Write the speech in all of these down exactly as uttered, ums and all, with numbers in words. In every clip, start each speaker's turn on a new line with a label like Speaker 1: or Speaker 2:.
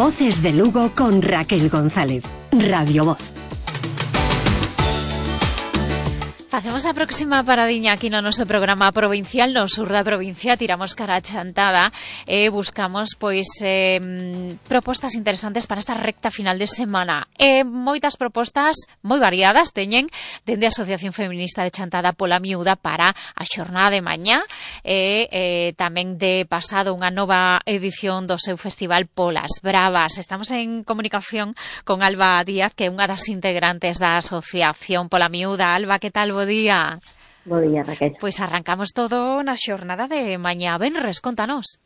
Speaker 1: Voces de Lugo con Raquel González. Radio Voz.
Speaker 2: Facemos a próxima paradiña aquí no noso programa provincial, no sur da provincia, tiramos cara a Chantada e eh, buscamos pois eh, propostas interesantes para esta recta final de semana. Eh, moitas propostas moi variadas teñen dende a Asociación Feminista de Chantada pola Miúda para a xornada de mañá e eh, tamén de pasado unha nova edición do seu festival Polas Bravas. Estamos en comunicación con Alba Díaz, que é unha das integrantes da Asociación pola Miúda. Alba, que tal? Bo día.
Speaker 3: Bo día, Raquel.
Speaker 2: Pois arrancamos todo na xornada de mañá. Benres, contanos.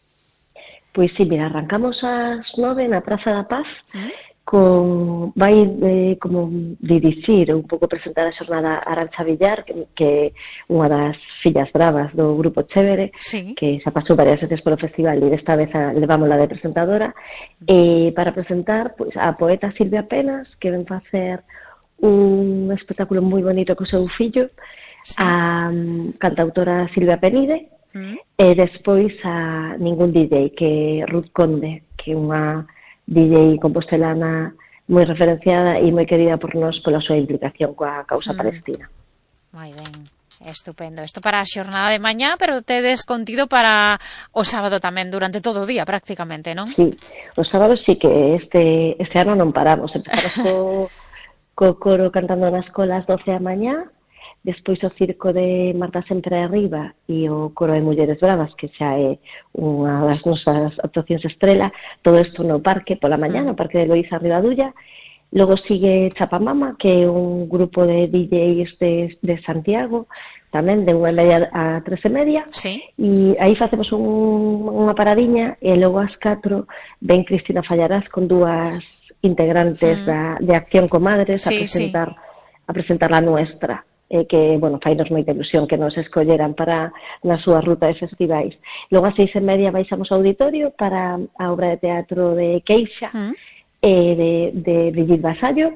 Speaker 3: Pois sí, mira, arrancamos ás nove na Praza da Paz, ¿Mm? con vai eh, como dirixir un pouco presentar a xornada Arantxa Villar, que, que unha das fillas bravas do Grupo Chévere,
Speaker 2: sí.
Speaker 3: que xa pasou varias veces polo festival e desta vez a, levámola de presentadora, e para presentar pois, a poeta Silvia Penas, que ven facer un espectáculo moi bonito co seu fillo, sí. a um, cantautora Silvia Penide, mm. e despois a Ningún D J, que é Ruth Conde, que é unha D J compostelana moi referenciada e moi querida por nós pola súa implicación coa causa mm. palestina.
Speaker 2: Moi ben, estupendo. Isto para a xornada de mañá, pero tedes contido para o sábado tamén, durante todo o día prácticamente, non?
Speaker 3: Sí, o sábado sí que este, este ano non paramos, empezamos co co coro cantando na escola ás doce da mañá, despois o circo de Marta Sempre Arriba e o coro de Mulleres Bravas, que xa é unha das nosas actuacións estrela, todo isto no parque pola mañá, no parque de Loíza Ribadulla. Logo sigue Chapamama, que é un grupo de D Js de, de Santiago, tamén de unha e media a tres e media,
Speaker 2: sí.
Speaker 3: E aí facemos un, unha paradiña, e logo ás catro ven Cristina Fallarás con dúas integrantes mm. da, de Acción Comadres sí, a presentar sí. a presentar la nuestra, eh, que, bueno, fainos moita ilusión que nos escolleran para na súa ruta de festivais. Logo a seis e media baixamos ao auditorio para a obra de teatro de Queixa mm. eh, de, de Brigitte Vasallo,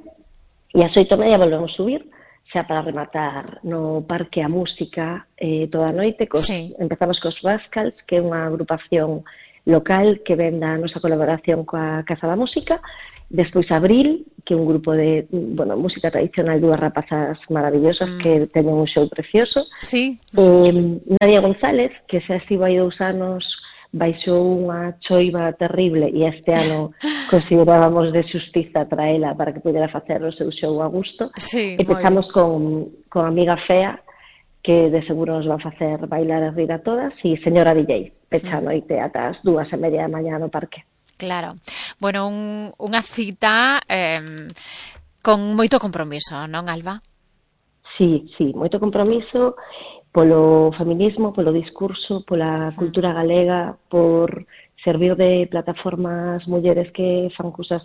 Speaker 3: e a oito e media volvemos subir xa para rematar no Parque a Música eh, toda a noite. Cos, sí. Empezamos cos Rascals, que é unha agrupación local que ven da nosa colaboración coa Casa da Música. Despois Abril, que é un grupo de, bueno, música tradicional, dúas rapazas maravillosas mm. que teñen un show precioso.
Speaker 2: Sí.
Speaker 3: Eh, Nadia González, que xa estivo hai dous anos, baixou unha choiva terrible e este ano considerábamos de xustiza traela para que pudera facer o seu show a gusto.
Speaker 2: Sí,
Speaker 3: e pechamos con, con Amiga Fea, que de seguro nos va a facer bailar e rir a todas, e Señora D J, pecha a noite ata as dúas e media da mañá no parque.
Speaker 2: Claro. Bueno, un, unha cita eh, con moito compromiso, non, Alba?
Speaker 3: Sí, sí, moito compromiso polo feminismo, polo discurso, pola cultura galega, por servir de plataformas mulleres que fan cousas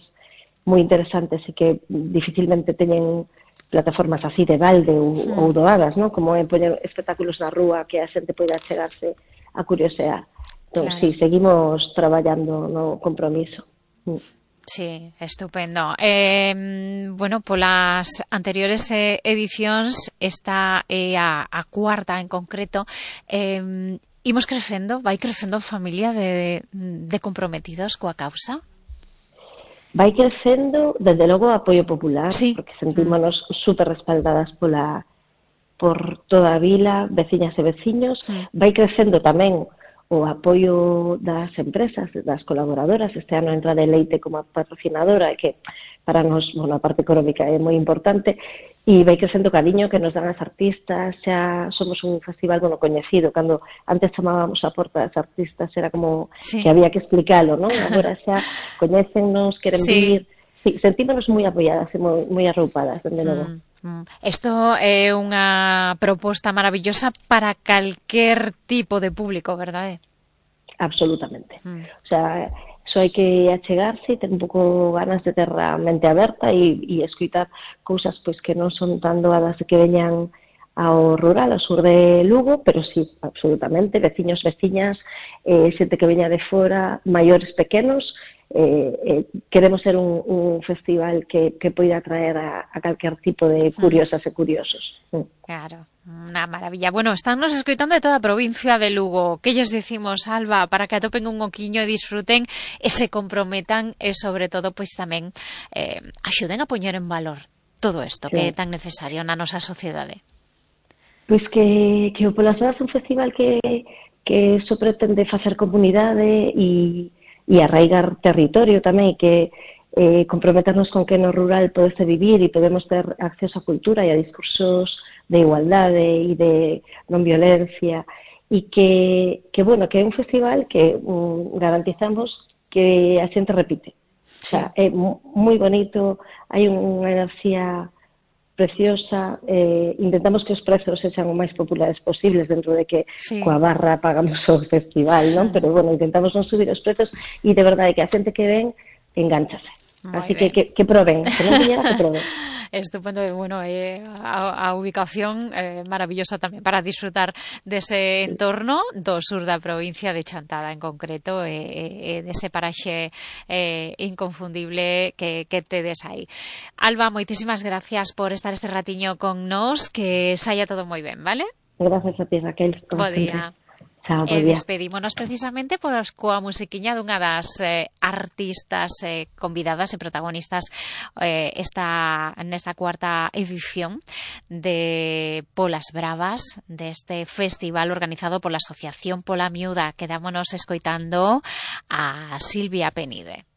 Speaker 3: moi interesantes e que dificilmente teñen plataformas así de balde ou, mm. ou doadas, ¿no? Como é poñer espectáculos na rúa que a xente poida chegarse a curiosear. Entón, claro. Sí, seguimos traballando no compromiso. Mm.
Speaker 2: Sí, estupendo. Eh, bueno, polas anteriores eh, edicións, esta é a, a cuarta en concreto, eh, imos crecendo, vai crecendo a familia de, de comprometidos coa causa?
Speaker 3: Vai crecendo, desde logo, o apoio popular,
Speaker 2: sí.
Speaker 3: porque sentímonos mm. super respaldadas pola, por toda a vila, veciñas e veciños. Mm. Vai crecendo tamén o apoio das empresas, das colaboradoras. Este ano entra de Leite como patrocinadora, que para nos, bueno, a parte económica é moi importante, e vai crecendo o cariño que nos dan as artistas. Xa somos un festival, bueno, coñecido, cando antes chamábamos a porta das artistas, era como sí. que había que explicalo, non? Agora xa coñécennos, queren sí. vir, sí, sentímonos moi apoiadas e moi, moi arroupadas, dende logo. Mm.
Speaker 2: Isto é unha proposta maravillosa para calquer tipo de público, verdade?
Speaker 3: Absolutamente. Mm. O sea, só hai que achegarse e ter un pouco ganas de ter a mente aberta e, e escutar cousas pois que non son tan doadas de que veñan ao rural, ao sur de Lugo, pero sí, absolutamente, veciños, veciñas, eh, xente que veña de fora, maiores, pequenos, eh, eh, queremos ser un, un festival que, que poida atraer a, a calquer tipo de curiosas e curiosos.
Speaker 2: Claro, unha maravilla. Bueno, están nos escoitando de toda a provincia de Lugo. Que lles decimos, Alba, para que atopen un oquiño e disfruten e se comprometan e, sobre todo, pois tamén eh, axuden a poñer en valor todo isto sí. que é tan necesario na nosa sociedade.
Speaker 3: Pois que, que o Polas Bravas é un festival que, que só pretende facer comunidade e e arraigar territorio tamén, que eh, comprometernos con que no rural podese vivir e podemos ter acceso á cultura e a discursos de igualdade e de non violencia, e que, que bueno, que é un festival que um, garantizamos que a xente repite. Sí. O sea, é moi bonito, hai unha enerxía preciosa, eh, intentamos que os prezos sexan o máis populares posibles dentro de que sí. coa barra pagamos o festival, non? Pero, bueno, intentamos non subir os prezos e de verdade que a xente que ven engánchase. Muy Así que, que que proben, que non viñera, que proben.
Speaker 2: Estupendo, bueno, eh, a, a ubicación eh, maravillosa tamén para disfrutar dese entorno do sur da provincia de Chantada en concreto e eh, eh, dese paraxe eh, inconfundible que, que tedes aí. Alba, moitísimas gracias por estar este ratiño con nós, que saia todo moi ben, vale?
Speaker 3: Gracias a ti, Raquel.
Speaker 2: Bo día.
Speaker 3: Chao,
Speaker 2: e despedímonos precisamente pois coa musiquiña dunha das eh, artistas eh, convidadas e protagonistas eh, esta nesta cuarta edición de Polas Bravas, deste festival organizado pola Asociación Pola Miúda. Quedámonos escoitando a Silvia Penide.